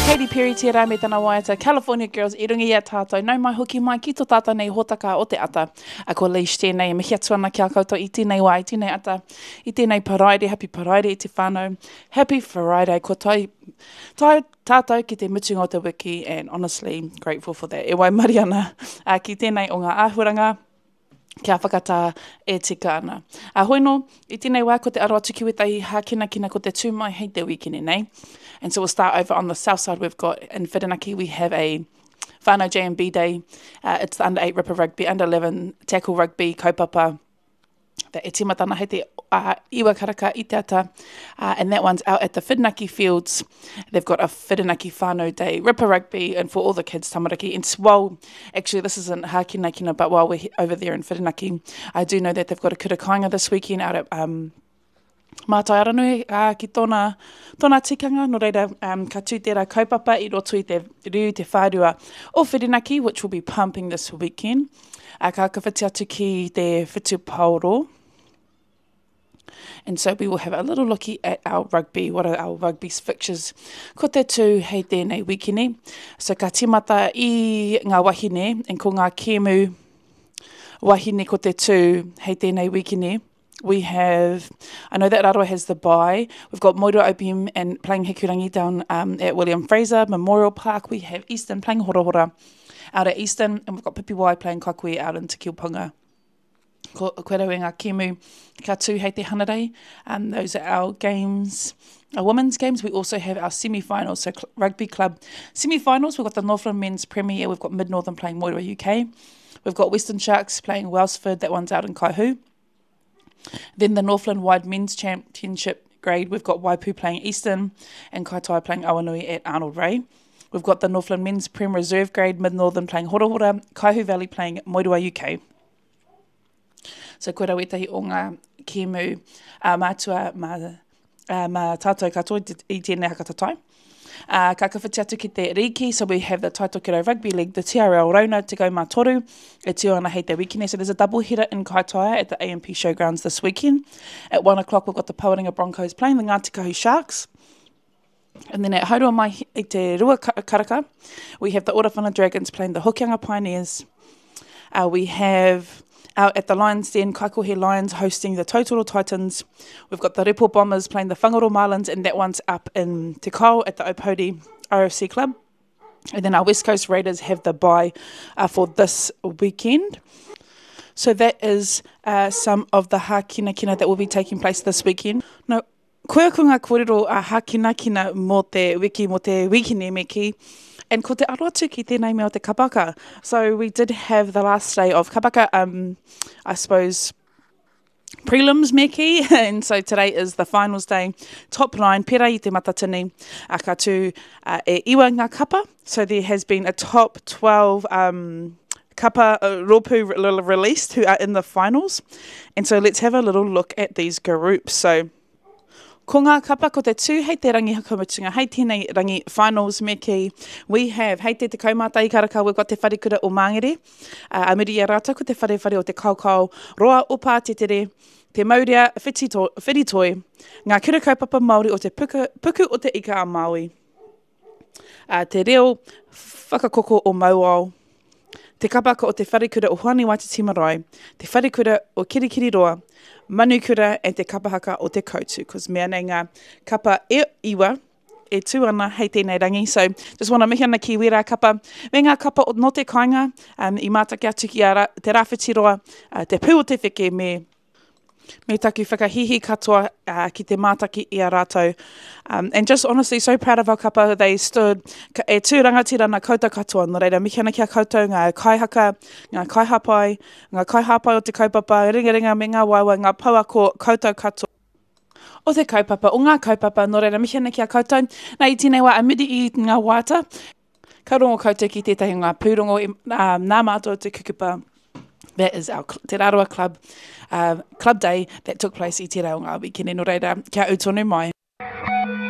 Katy Perry tērā me tana waiata California Girls i runga i a tātou. Nau mai hoki mai ki tō tātou nei hōtaka o te ata. A ko Leish tēnei e mihi atu ana ki a koutou i tēnei wā, i tēnei ata, i tēnei Paraire, happy Paraire i te whānau. Happy Friday, kua tae, tae tātou ki te mutunga o te wiki and honestly grateful for that. E waimarie ana uh, ki tēnei o ngā āhuaranga kia whakatā e tika ana. A hoi nō, i tēnei wā ko te aro atu ki wētahi hākinakina ko te tū mai hei te wīkene nei. And so we'll start over on the south side. We've got in Whirinaki we have a whānau JMB day. Uh, it's the under 8 ripper rugby, under 11 tackle rugby kaupapa that e tīmata ana hei te uh, iwa karaka i te ata. Uh, and that one's out at the Whirinaki Fields. They've got a Whirinaki whānau day, ripper rugby, and for all the kids tamariki. And while, actually this isn't hākinakina, but while we're over there in Whirinaki, I do know that they've got a kura kāinga this weekend out at um, Mātai Aranui uh, ki tōna, tōna tikanga, nō reira um, ka tū tērā kaupapa i roto i te riu, te whārua o Whirinaki, which will be pumping this weekend. Uh, ka whiti atu ki te whutupaoro. And so we will have a little looky at our rugby, what are our rugby fixtures. Ko te tū hei tēnei wikini. So ka tīmata i ngā wahine, and ko ngā kēmu wahine ko te tū hei tēnei wikini. We have, I know that Rarawa has the bye. We've got Moeroa OPM and playing Hikurangi down um, at William Fraser Memorial Park. We have Eastern playing Horahora out at Eastern, and we've got Pipiwai playing Kakui out in Te Kiupunga. Ko, koe rau e ngā kēmu ka tū hei te Hanarei. Um, those are our games, our women's games. We also have our semi-finals, so rugby club semi-finals. We've got the Northland Men's Premier. We've got Mid-Northern playing Moeroa UK. We've got Western Sharks playing Wellsford. That one's out in Kaihu. Then the Northland Wide Men's Championship grade, we've got Waipu playing Eastern and Kaitai playing Awanui at Arnold Ray. We've got the Northland Men's Prem Reserve grade, Mid-Northern playing Horahora, Kaihu Valley playing Moeroa UK. So koira wētahi o ngā kēmu a mātua mā, uh, mā tātou katoa i tēnei hakatatai. Uh, ka kawhiti atu ki te rīki, so we have the Taitokerau Rugby League, the TRL Rauna Tekau Mā Toru, e tū ana hei te wikine. So there's a double header in Kaitaia at the AMP Showgrounds this weekend. At 1 o'clock we've got the Pawarenga Broncos playing the Ngāti Kahu Sharks. And then at Haurua Mai i te Rua Karaka, we have the Orawhana Dragons playing the Hokianga Pioneers. Uh, we have out at the Lions Den, Kaikohe Lions hosting the Tautoro Titans. We've got the Repo Bombers playing the Whangaro Marlins, and that one's up in Te Kao at the Opouri RFC Club. And then our West Coast Raiders have the bye uh, for this weekend. So that is uh, some of the hākinakina that will be taking place this weekend. No, Koia ko ngā kōrero a hākinakina mō te wiki, mō te wikine me kī. And ko te aro atu ki tēnei mea o te kapaka. So we did have the last day of kapaka, um, I suppose, prelims me kī. And so today is the finals day. Top nine, pera i te matatini, a ka tū uh, e iwa ngā kapa. So there has been a top 12 um, kapa uh, rōpū released who are in the finals. And so let's have a little look at these groups. So Ko ngā kapa ko te tū hei te rangi whakamutunga, hei tēnei rangi finals me kī. We have, hei te 11 karaka, we've got te wharekura o Māngere, uh, a muri i a rātou ko te wharewhare o te Kaokao Roa o Pātetere, te Maurea Whitito, Whiritoi, ngā kura kaupapa Māori o te puka, Puku o te Ika a Māui. Uh, te reo whakakoko o Mauao, te kapaka o te wharekura o Hoani Waititi Marae, te wharekura o Kirikiriroa, Manukura and te kapahaka o Te Koutu. Cause mea nei ngā kapa e iwa e tū ana hei tēnei rangi. So, just wanna mihi ana ki wērā kapa me ngā kapa o no te kāinga um, i mātaki atu ki a ra, Te Rāwhitiroa, uh, Te Pū o Te Wheke me me taku whakahīhī katoa uh, ki te mātaki i a rātou. Um, and just honestly, so proud of our kapa. They stood, ka, e tū rangatira ana koutou katoa. Nō reira, mihi ana ki a koutou, ngā kaihaka, ngā kaihāpai, ngā kaihāpai o te kaupapa, ringaringa me ngā waewae, ngā pouako, koutou katoa o te kaupapa, o ngā kaupapa, nō reira, mihi ana ki a koutou. Nā, i tēnei wā, a muri i ngā waiata, Ka rongo koutou ki tētahi o ngā pūrongo i, uh, nā mātou te kukupa. That is our Te Rarawa Club, uh, club day that took place i tērā o ngā wikene. Nō reira, kia ū tonu mai.